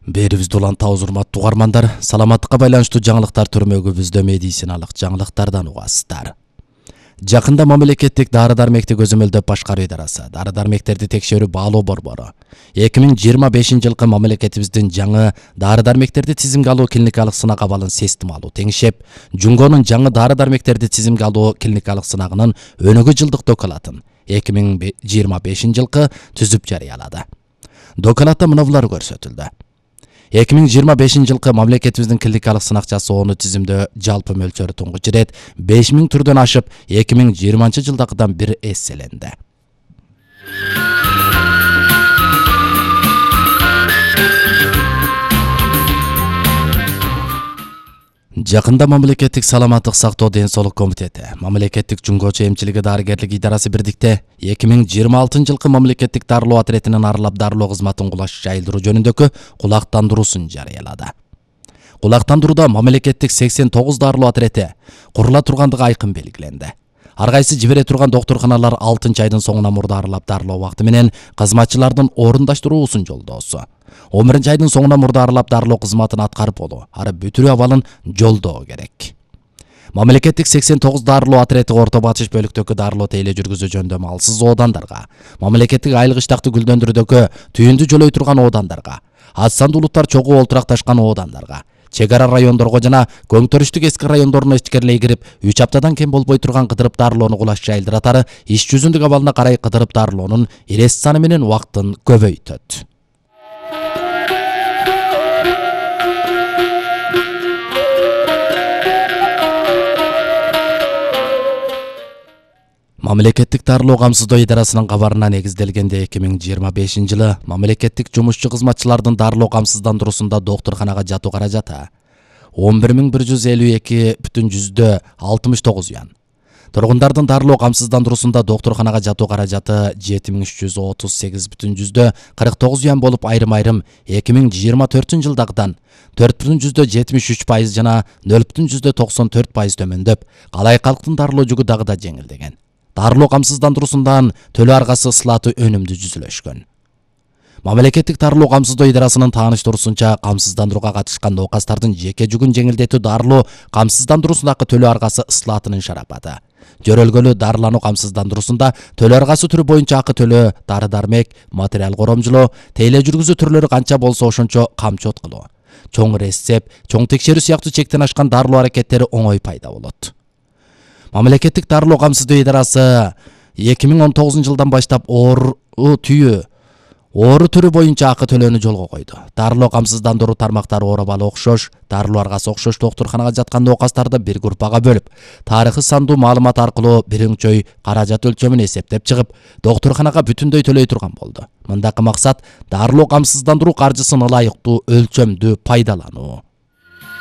Берибизде улантабыз урматтуу угармандар, саламаттыкка байланыштуу жаңылыктар түрмөгүбүздө медициналык жаңылыктардан угасыздар. Жакында мамлекеттик дары-дармекти көзөмөлдөп башкаруу идарасы дары-дармектерди текшерүү баалоо борбору 2025-жылкы мамлекетибиздин жаңы дары-дармектерди тизимге алуу клиникалык сынак абалын системалуу теңшеп, Жунгонун жаңы дары-дармектерди тизимге алуу клиникалык сынагынын өнүгүү жылдык документин 2025-жылкы түзүп жарыялады. Документте мыналар көрсөтүлдү. 2025-жылкы мамлекетибиздин клиникалык сынак жасоону тизимдөө жалпы мөлчөрү туңгуч ирет 5000 түрдөн ашып 2020-жылдагыдан бир эсселенди. Жакында мамлекеттик саламаттык сактоо ден соолук комитети, мамлекеттик жунгочу эмчилиги дарыгерлик идарасы бирдикте 2026-жылкы мамлекеттик дарылоо отретинин аралап дарылоо кызматын кулаш жайылдыруу жөнүндөгү кулактандыруусун жарыялады. Кулактандырууда мамлекеттик 89 дарылоо отрети курула тургандыгы айкын белгиленди. Ар кайсы жибере турган доктурканалар 6-айдын соңуна мурда аралап дарылоо убакыты менен кызматчылардын орундаштыруусун жолдоосу. 11-айдын соңуна мурда аралап дарылоо кызматын аткарып болуу, ары бүтүрүү абалын жолдоо керек. Мамлекеттик 89 дарылоо отрети Орто Батыш бөлүктөгү дарылоо тейле жүргүзүү жөнүндө малсыз оодандарга, мамлекеттик айылык иштакты гүлдөндүрүүдөгү түйүндү жолой турган оодандарга, аз сандуу улуттар чогуу олтуракташкан оодандарга, чек ара райондорго жана көңтөрүштүк эски райондоруна ичкерлей кирип, 3 аптадан кем болбой турган кыдырып дарылоону кулаш жайылдыратары иш жүзүндүк абалына карай кыдырып дарылоонун ирес саны менен убактын көбөйтөт. Мамлекеттик дарылоо камсыздоо идарасынын кабарына негизделгенде 2025-жылы мамлекеттик жумушчу кызматчылардын дарылоо камсыздандыруусунда доктурканага жатуу каражаты 11152,69 юан. Тургундардын дарылоо камсыздандыруусунда доктурканага жатуу каражаты 7338,49 юан болуп, айрым-айрым 2024-жылдагыдан 4,73% жана 0,94% төмөндөп, калай калктын дарылоо жүгү дагы да жеңилдеген. Дарылоо камсыздандыруусундан төлөө аргасы ыслааты өнүмдүү жүзүлөшкөн. Мамлекеттик дарылоо камсыздоо идарасынын тааныштыруусунча, камсыздандырууга катышкан ноокастардын жеке жүгүн жеңилдетүү дарылоо камсыздандыруусундагы төлөө аргасы ыслаатынын шарапаты. Жөрөлгөлүү дарылануу камсыздандыруусунда төлөө аргасы түрү боюнча акы төлөө, дары-дармек, материал коромжулоо, тейле жүргүзүү түрлөрү канча болсо ошончо камчот кылуу, чоң рецепт, чоң текшерүү сыяктуу чектен ашкан дарылоо аракеттери оңой пайда болот. Мамлекеттик дарылоо камсыздоо идарасы 2019-жылдан баштап оору түрү боюнча акы төлөөнү жолго койду. Дарылоо камсыздандыруу тармактары оор абалы окшош, дарылоо аргасы окшош доктурканага жаткан ноокастарды бир группага бөлүп, тарыхы сандуу маалымат аркылуу биринчөй каражат өлчөмүн эсептеп чыгып, доктурканага бүтүндөй төлөй турган болду. Мындагы максат дарылоо камсыздандыруу каржысын ылайыктуу, өлчөмдүү пайдалануу.